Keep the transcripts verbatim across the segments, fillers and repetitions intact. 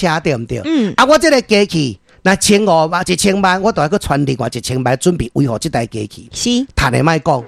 車，對毋對？嗯。啊，我這个機器，若千五萬一千萬，我就愛閣揣另外一千萬準備維護這台機器。是。趁的莫講。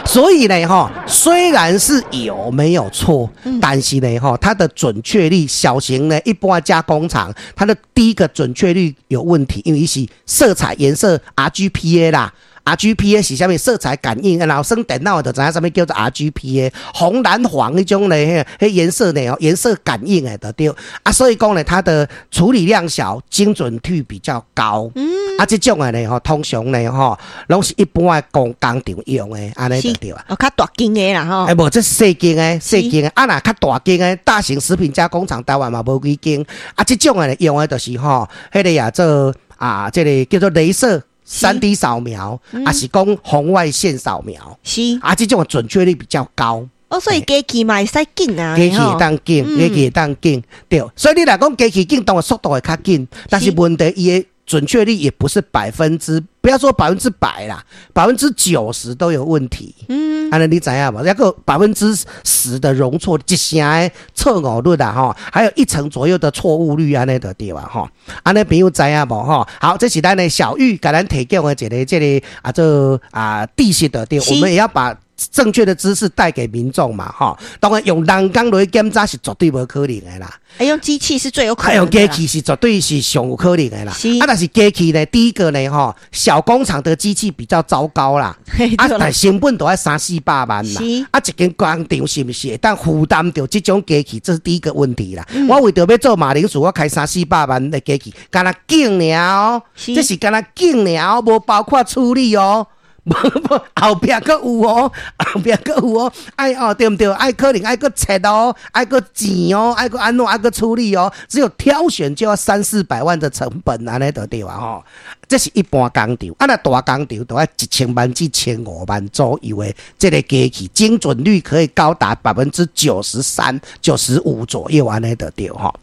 所以呢，吼，雖然是有沒有錯，但是呢，吼，它的準確率，小型呢，一般加工廠，它的第一個準確率有問題，因為是色彩顏色 R G B A 啦。R G B A 是啥物色彩感應？然後耍電腦的就知影啥物叫做 R G B A，紅藍黃彼種咧，彼顏色呢，顏色感應的就對。啊，所以講呢，它的處理量小，精準率比較高。嗯。啊，這種的呢，吼，通常呢，吼，攏是一般的工工廠用的，按呢就對啊。哦，較大間的啦，吼。欸，無，這細間的，細間的，啊，若較大間的大型食品加工廠，台灣嘛無幾間。啊，這種的用的就是吼，彼个也做啊，這个叫做雷射。三 D 掃描，抑是講紅外線掃描，是啊，這種準確率比較高。哦，所以機器嘛會使檢啊，機器會當檢，機器會當檢，對。所以你若講機器檢，當然速度會較緊，但是問題伊的準確率也不是百分之，不要說百分之百啦，百分之九十都有問題。嗯，按呢你知影無？抑閣百分之十的容錯，一成的錯誤率啦，吼，還有一成左右的錯誤率，按呢就對啊，吼。按呢朋友知影無？吼，好，這是咱的小玉共咱提供的一个這个啊，這啊知識的對，我們也要把正確的知識帶給民眾嘛，吼。當然用人工來檢查是絕對無可能的啦。欸，用機器是最有可能。用機器是絕對是上有可能的啦。啊，但是機器呢，第一個呢，吼，小工廠的機器比較糟糕啦。啊，但成本都愛三四百萬啦。啊，一間工廠是毋是會當負擔著這種機器？這是第一個問題啦。我為著欲做馬鈴薯，我開三四百萬的機器，干焦檢爾哦，這是干焦檢爾，無包括處理哦。無無，後壁閣有哦，後壁閣有哦，愛哦對毋對？愛可能愛閣切哦，愛閣剪哦，愛閣按怎，愛閣處理哦。只有挑選就要三四百萬的成本，按呢就對啊吼。這是一般工廠，啊若大工廠都愛一千萬至千五萬左右的這个機器，精準率可以高達百分之九十三、九十五左右，按呢就對吼。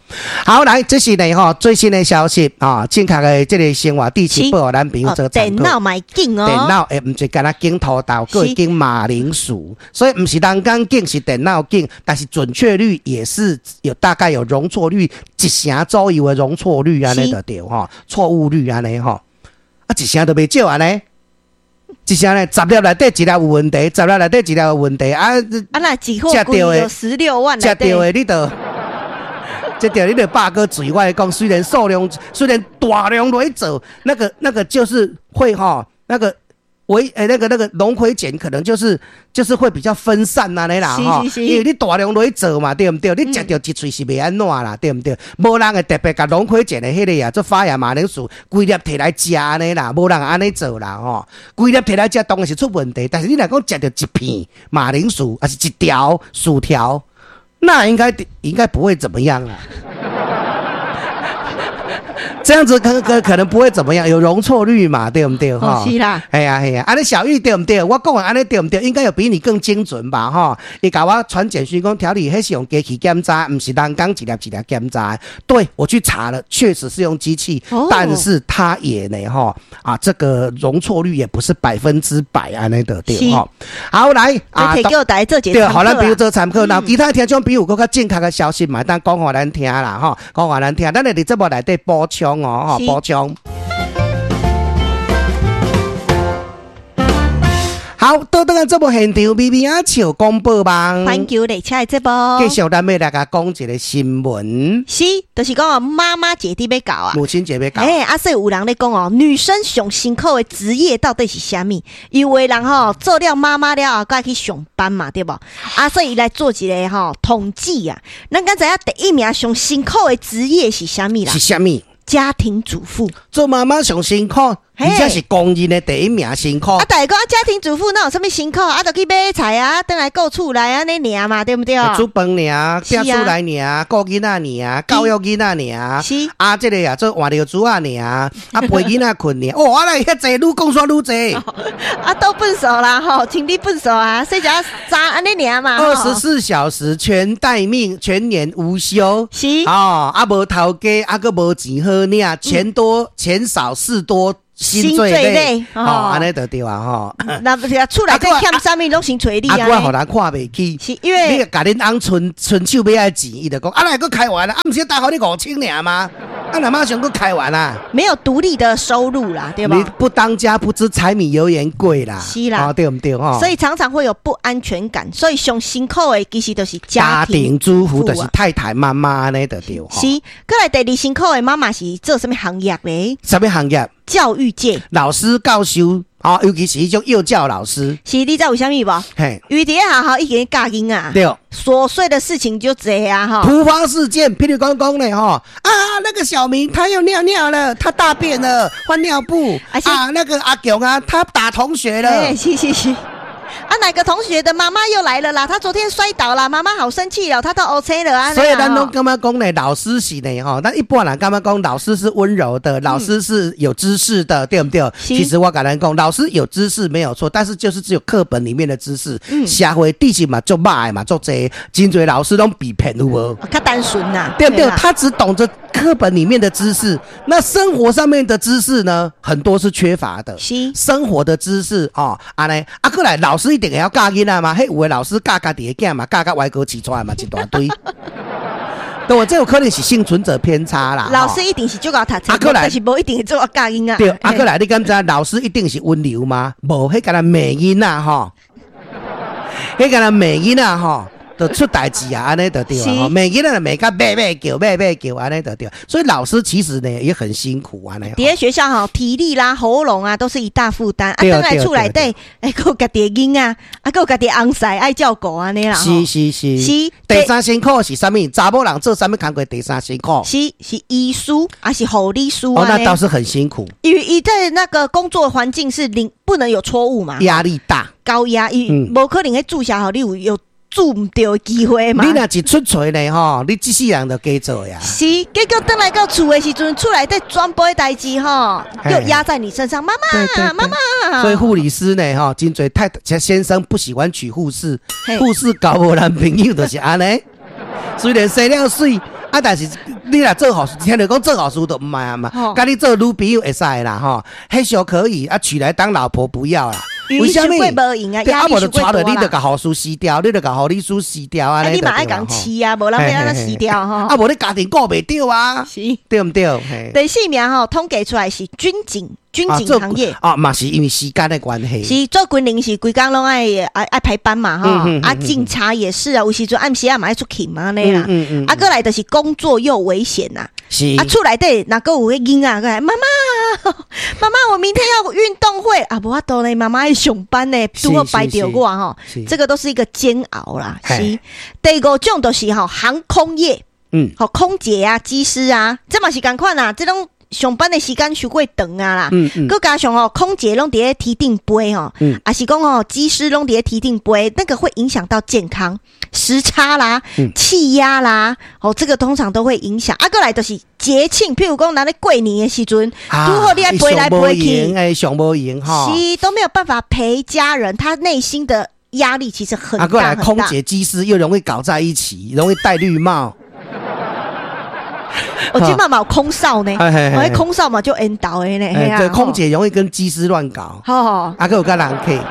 好，來，這是呢吼最新的消息啊，正確的這个生活知識予咱朋友做參考。電腦嘛會檢哦，電腦會毋是干焦檢土豆，閣會檢馬鈴薯，所以毋是人工檢，是電腦檢，但是準確率也是有大概有容錯率一成左右的容錯率，按呢就對吼，錯誤率按呢吼。啊，一成都袂少按呢，一成呢，十粒內底一粒有問題，十粒內底一粒有問題啊！啊，若一貨櫃有十六萬，食著的你就，食著你就百個嘴。我講，雖然數量雖然大量來做，那個那個就是會吼，那個維欸那個那個龍葵鹼可能就是就是會比較分散按呢啦吼，因為你大量來做嘛，對毋對？你食著一喙是袂按怎啦，對毋對？無人會特別共龍葵鹼的彼个啊，做發芽馬鈴薯，規粒提來食按呢啦，無人按呢做啦吼。規粒提來食當然是出問題，但是你若講食著一片馬鈴薯，抑是一條薯條，那應該應該不會怎麼樣啊。這樣子可可可能不會怎麼樣，有容錯率嘛，對毋對？吼，是啦。係啊係啊，按呢小玉對毋對？我講的按呢對毋對？應該有比你更精準吧？吼，伊共我傳簡訊講，調理彼是用機器檢查，毋是人工一粒一粒檢查。對，我去查了，確實是用機器，但是它也呢，吼啊，這個容錯率也不是百分之百按呢就對吼。好，來啊，叫大家做對，予咱朋友做參考。那其他聽眾朋友閣較正確的消息嘛，當講予咱聽啦，吼，講予咱聽。咱會佇節目內底補充哦，吼，補充。好，倒轉來節目現場，微微仔笑廣播網，環球列車的節目，繼續咱欲來共講一个新聞，是，就是講哦，媽媽節佇欲到啊，母親節欲到，欸，啊，所以有人咧講哦，女生上辛苦的職業到底是啥物？有的人吼做了媽媽了後，閣愛去上班嘛，對無？啊，所以伊來做一个吼統計啊，咱敢知影第一名上辛苦的職業是啥物啦？是啥物？家庭主婦。做媽媽上辛苦，而且是公認的第一名辛苦。啊，大家講家庭主婦哪有啥物辛苦？啊，就去買菜啊，轉來顧厝內按呢爾嘛，對毋對？煮飯爾，摒厝內爾，顧囡仔爾，教育囡仔爾。是。啊，這个啊，做換尿苴仔爾，啊，陪囡仔睏爾。哦，啊，來遐濟，愈講煞愈濟。啊，倒糞埽啦，吼，清理糞埽啊，洗一下衫按呢爾嘛。二十四小時全待命，全年無休。是。哦，啊，無頭家，啊，閣無錢好領，錢多錢少事多。薪水咧，吼，按呢就對啊吼。那厝內底欠啥物攏先揣你啊。啊，閣予人看袂起，是因為你共恁翁伸伸手欲愛錢，伊就講啊，來閣開完啊，啊，毋是貸予你五千爾嗎？啊，若馬上閣開完啊。沒有獨立的收入啦，對吧？你不當家不知柴米油鹽貴啦，是啦，對毋對吼？所以常常會有不安全感，所以上辛苦的其實就是家庭主婦，就是太太媽媽按呢就對。是，閣來第二辛苦的媽媽是做啥物行業咧？啥物行業？教育界，老師教授，哦，尤其是彼種幼教老師。是，你知為啥物無？嘿，因為佇咧學校已經教囡仔，對，瑣碎的事情就濟啊，吼。突發事件，譬如講講咧，吼，啊，那個小明他又尿尿了，他大便了，換尿布，啊，那個阿強啊，他打同學了，是是是。啊，哪個同學的媽媽又來了啦？他昨天摔倒了，媽媽好生氣了，他都 OK 了啊。所以咱攏感覺講呢，老師是呢，吼，咱一般人感覺講老師是溫柔的，老師是有知識的，對毋對？其實我共咱講，老師有知識沒有錯，但是就是只有課本裡面的知識，社會知識嘛足歹嘛足濟，真濟老師攏被騙有無？較單純吶，對毋對？他只懂得課本裡面的知識，那生活上面的知識呢，很多是缺乏的。是生活的知識哦，按呢，啊，閣來老師一定會曉教囡仔嘛？彼有的老師教家己的囝嘛，教甲歪哥飼出來嘛，一大堆。對，這有可能是倖存者偏差啦。老師一定是足𠢕讀冊，但是無一定會足𠢕教囡仔。對，啊，閣來，你敢知老師一定是溫柔嗎？無，彼干焦罵囡仔吼，彼干焦罵囡仔吼。就出代誌啊，按呢就對啊，罵囡仔罵甲欲欲叫，欲欲叫，按呢就對。所以老師其實呢也很辛苦啊。佇咧學校吼，體力啦、喉嚨啊，都是一大負擔。啊，轉來厝內底，欸，閣有家己的囡仔，啊，閣有家己的翁婿愛照顧按呢啦。是是是。是。第三辛苦是啥物？查某人做啥物工課？第三辛苦。是是醫師，還是護理師？哦，那倒是很辛苦。因為伊在那個工作環境是零不能有錯誤嘛，壓力大，高壓，伊無可能彼注射予你有有注毋著的機會嘛？你若一出錯呢，吼，你這世人就加做呀。是，結果轉來到厝的時陣，厝內底全部的代誌吼，又壓在你身上。媽媽，媽媽。所以護理師呢，吼，真濟太太先生不喜歡娶護士，護士交無男朋友就是按呢。雖然生了媠，啊，但是你若做護士，聽著講做護士就毋愛啊嘛。共你做女朋友會使啦，吼，彼小可以啊，娶來當老婆不要啦。為啥物？無閒啊，啊，無就娶著你就共護士辭掉，你就共護理師辭掉啊！你嘛愛共飼啊，無人欲按怎辭掉吼。啊，無你家庭顧袂著啊，是，對毋對？第四名吼，統計出來是軍警，軍警行業啊，嘛是因為時間的關係。是做軍人是規工攏愛愛愛排班嘛吼，啊，警察也是啊，有時陣暗時啊嘛愛出去嘛按呢啦。啊，閣來就是工作又危險呐。是啊，厝內底若閣有彼囡仔，閣來媽媽，媽媽，我明天要運動會啊，無法度呢，媽媽愛上班呢，拄好排著我吼，這個都是一個煎熬啦。是，第五種就是吼航空業，嗯，吼空姐啊、機師啊，這嘛是仝款啊，這種上班的時間傷過長啊啦，嗯嗯，閣加上吼空姐攏佇咧天頂飛吼，抑是講吼機師攏佇咧天頂飛，那個會影響到健康，時差啦、氣壓啦，哦，這個通常都會影響。啊，閣來就是節慶，譬如講咱咧過年的時陣，拄好你愛飛來飛去，欸，上無閒吼，是都沒有辦法陪家人，他內心的壓力其實很大。啊，閣來空姐、機師又容易搞在一起，容易戴綠帽。我這擺嘛有空少呢，我彼空少嘛足緣投的呢。對，空姐容易跟機師亂搞。好，啊，閣有佮人客。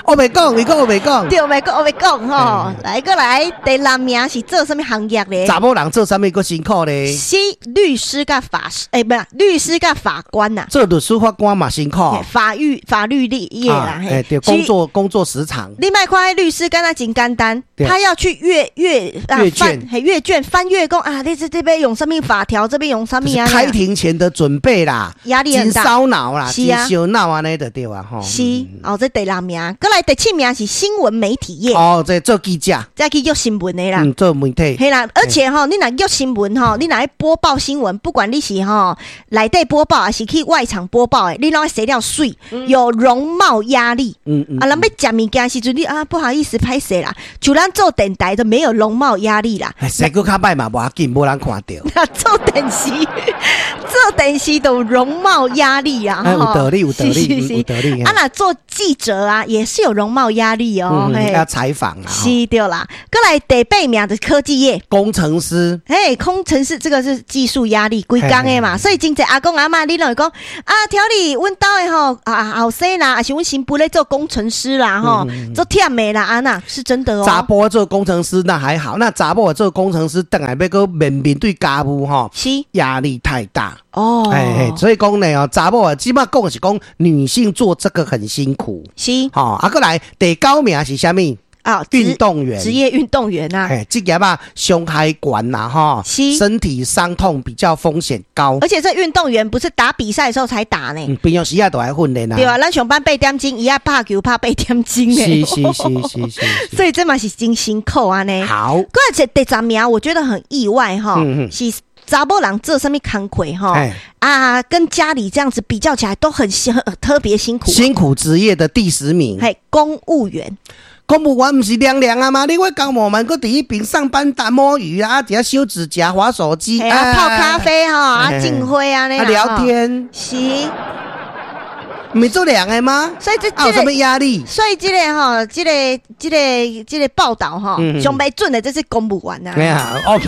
我袂講，你講我袂講。對，袂講，我袂講吼。來，閣來，第六名是做啥物行業咧？查某人做啥物閣辛苦咧？是律師佮法師，欸，毋是律師佮法官呐。做律師法官嘛辛苦。法律法律業啦，欸，對，工作工作時長。你莫看彼律師敢若真簡單，他要去閱閱閱卷，嘿，閱卷翻閱講啊，你這這邊用啥物法條，這邊用啥物啊？開庭前的準備啦，壓力很大，燒腦啦，是啊，燒腦按呢就對啊，吼。是，哦，這第六名，閣來第七名是新聞媒體業。哦，這做記者，這去約新聞的啦，嗯，做媒體。嘿啦，而且吼，你若約新聞吼，你若去播報新聞，不管你是吼內底播報，還是去外場播報的，你攏愛生了媠，有容貌壓力。嗯嗯。啊，人欲食物件時陣，你啊不好意思歹勢啦，像咱做電台都沒有容貌壓力啦。生閣較歹嘛，無要緊，無人看著。做電視，做電視都有容貌壓力啊！有道理，有道理，有道理。啊，若做記者啊，也是。是有容貌壓力哦。嗯，要採訪啊。是對啦，閣來第八名的科技業，工程師。嘿，工程師這個是技術壓力，規工的嘛，所以真濟阿公阿嬤，你攏會講啊，調理阮兜的吼啊後生啦，抑是阮新婦咧做工程師啦，吼，做忝的啦，按呢是真的哦。查埔做工程師那還好，那查某做工程師，轉來欲閣面面對家務吼，是壓力太大哦。哎，所以講呢哦，查某啊，起碼講是講女性做這個很辛苦。是，吼，啊，閣來第九名是啥物？啊，運動員，職業運動員啊，哎，職業啊，傷害懸啦，吼，是身體傷痛比較風險高。而且這運動員不是打比賽的時候才打呢，平常時啊都愛訓練啊。對啊，咱上班八點鐘，伊愛拍球拍八點鐘呢。是是是是是，所以這嘛是真辛苦按呢。好，閣來第十名，我覺得很意外哈，是查某人做啥物工課哈？啊，跟家裡這樣子比較起來，都很辛，特別辛苦。辛苦職業的第十名，嘿，公務員。公務員毋是涼涼啊嗎？你我公務員閣佇彼邊上班打摸魚啊，佇遐修指甲、滑手機啊，泡咖啡哈，啊，種花啊，啊，聊天是。毋是足涼的嗎？所以這有啥物壓力？所以這個吼，這個這個這個報道吼，上袂準的，這是公務員啊。沒啊，哦，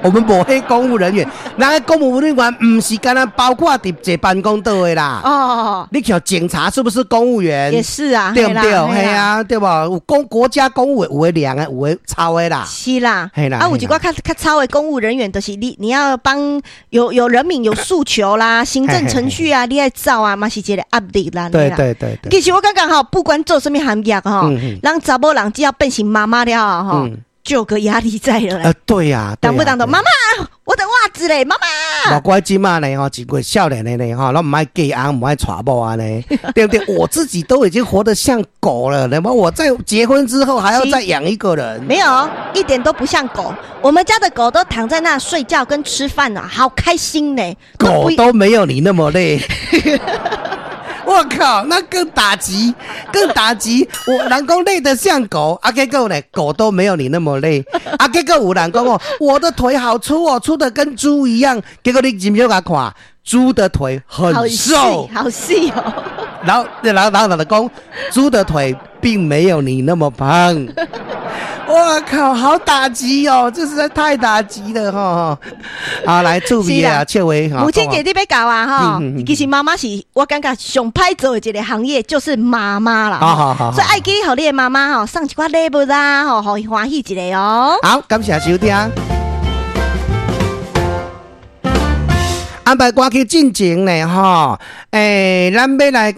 我們無彼公務人員，那個公務人員毋是干焦包括佇坐辦公桌的啦。哦，你瞧警察是不是公務員？也是啊，對毋對？係啊，對無？有公國家公務員有的涼的，有的臭的啦。是啦，係啦。啊，有一寡較較臭的公務人員，就是你你要幫有有人民有訴求啦，行政程序啊，你愛走啊，嘛是一個壓力啦。對對對對。其實我感覺吼，不管做啥物行業吼，咱查某人只要變成媽媽了吼，就有個壓力在了。呃，對呀，動不動就媽媽，我的襪子嘞，媽媽。莫怪這馬呢吼，一個少年的呢吼，攏毋愛嫁翁，毋愛娶某按呢，對不對？我自己都已經活得像狗了，那麼我在結婚之後還要再養一個人？沒有，一點都不像狗。我們家的狗都躺在那睡覺跟吃飯呢，好開心呢。狗都沒有你那麼累。我靠，那更打擊，更打擊！我人講累得像狗，啊，結果呢，狗都沒有你那麼累。啊，結果有人講哦，我的腿好粗哦，粗得跟豬一樣。結果你入去共看，豬的腿很瘦，好細哦。然後，然後，然後就講，豬的腿並沒有你那麼胖。我靠，好打擊哦！這實在太打擊了哈！好，來注意啊，切維。母親節你欲到啊哈！其實媽媽是我感覺上歹做的一個行業，就是媽媽啦。好好好，所以愛記予你的媽媽吼送一寡禮物啦，吼，予伊歡喜一下哦。好，感謝收聽。安排歌曲進前呢，吼，欸，咱欲來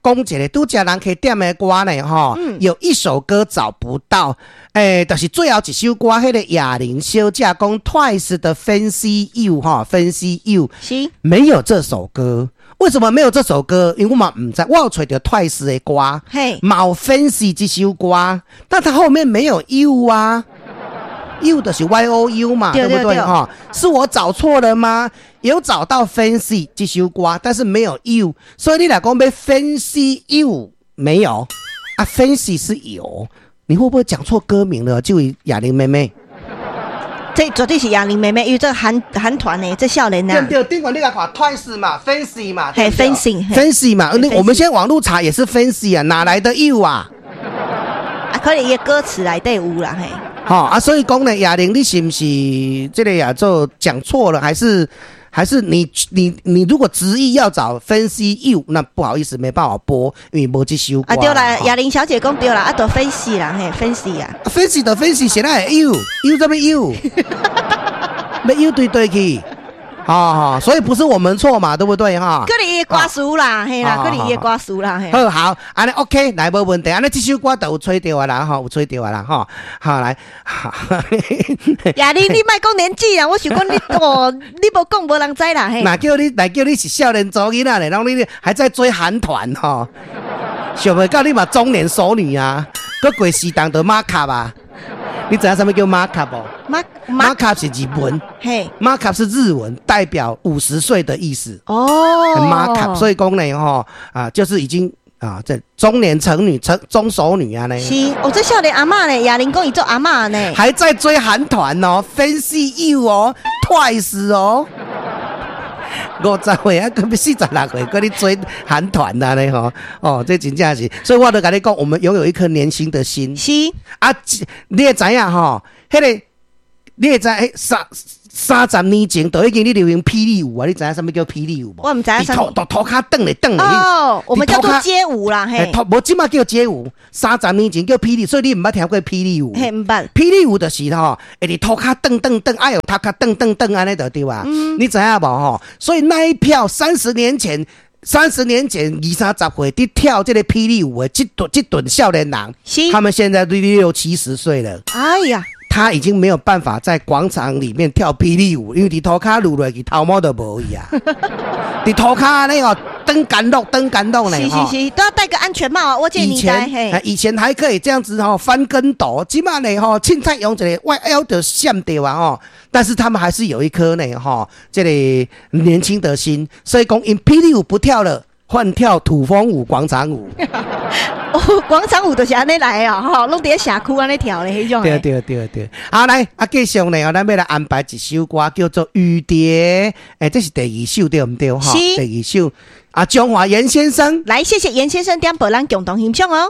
共講一个，拄才人客點的歌呢，吼，有一首歌找不到，欸，就是最後一首歌，彼个亞玲小姐講 Twice 的 Fancy You 哈，Fancy You 是沒有這首歌，為什麼沒有這首歌？因為我嘛毋知，我有揣著 Twice 的歌，嘿，嘛有 Fancy 這首歌，但它後面沒有 You 啊。You 的是 Y O U 嘛，對不對？哈，是我找錯了嗎？有找到 Fancy 這首歌，但是沒有 You，所以你若講欲 Fancy You 沒有啊？Fancy 是有，你會不會講錯歌名了？這位亞玲妹妹，這絕對是亞玲妹妹，因為這韓韓團呢，這少年啊，對對，頂懸你來看 Twice 嘛，Fancy 嘛，嘿，Fancy， Fancy 嘛，你我們現在網路查也是 Fancy 啊，哪來的 You 啊？啊，可能伊的歌詞內底有啦，嘿。好啊，所以講呢，亞玲，你是毋是這個也做講錯了，還是還是你你你如果執意要找 Fancy You，那不好意思，沒辦法播，因為無這首歌。啊對啦，亞玲小姐講對啦，啊，就 Fancy 啦，嘿，Fancy 啊。 Fancy 就 Fancy，誰來 You？You 啥物 You？欲 You 佗佗去？好好，所以不是我們錯嘛，對不對哈？可能伊的歌詞啦，嘿啦，可能伊的歌詞啦，嘿。好好，按呢 OK，來無問題，按呢這首歌就有揣著啊啦，吼，有揣著啊啦，吼，好來。亞玲，你莫講年紀啊，我想講你哦，你無講無人知啦，嘿。若叫你，若叫你是少年查某囡仔咧，攏你還在追韓團吼，想袂到你嘛中年淑女啊，閣過時當就馬卡啊。你知影啥物叫馬卡無？馬馬卡是日文，嘿，馬卡是日文，代表五十歲的意思。哦，馬卡，所以講呢，吼啊，就是已經啊，這中年成女成中熟女啊呢。是，哦，這少年阿嬤呢，亞玲講伊做阿嬤呢，還在追韓團哦，Fancy You 哦，Twice 哦。五十歲啊，閣欲四十六歲，閣咧追韓團啊咧吼，哦，這真正是，所以我都共你講，我們擁有一顆年輕的心。是啊，你會知影吼？彼個你會知？三三十年前就已經咧流行霹靂舞啊！你知影啥物叫霹靂舞無？我毋知影。塗塗塗跤轉咧轉咧。哦，我們叫做街舞啦，嘿。無這馬叫街舞，三十年前叫霹靂，所以你毋捌聽過霹靂舞。嘿，毋捌。霹靂舞就是吼，會佇塗跤轉轉轉，愛用頭殼轉轉轉按呢就對啊。你知影無吼？所以那一票三十年前，三十年前二三十歲佇跳這個霹靂舞的這頓這頓少年人，他們現在都六七十歲了。哎呀！他已經沒有辦法在廣場裡面跳霹靂舞，因為佇塗跤攄落去頭毛都無去啊！佇塗跤按呢哦，轉干落轉干落呢。是是是，都要戴個安全帽啊！我這以前以前還可以這樣子吼翻跟斗，這馬呢吼凊彩用一个彎腰就閃著啊吼！但是他們還是有一顆呢吼這個年輕的心，所以講𪜶霹靂舞不跳了，換跳土風舞、廣場舞。哦，廣場舞就是按呢來啊，吼，攏佇咧社區按呢跳的彼種。對對對對，好來，啊，繼續呢，咱欲來安排一首歌，叫做《雨蝶》。欸，這是第二首對毋對？吼，第二首。啊，張華嚴先生，來，謝謝嚴先生點播，咱共同欣賞哦。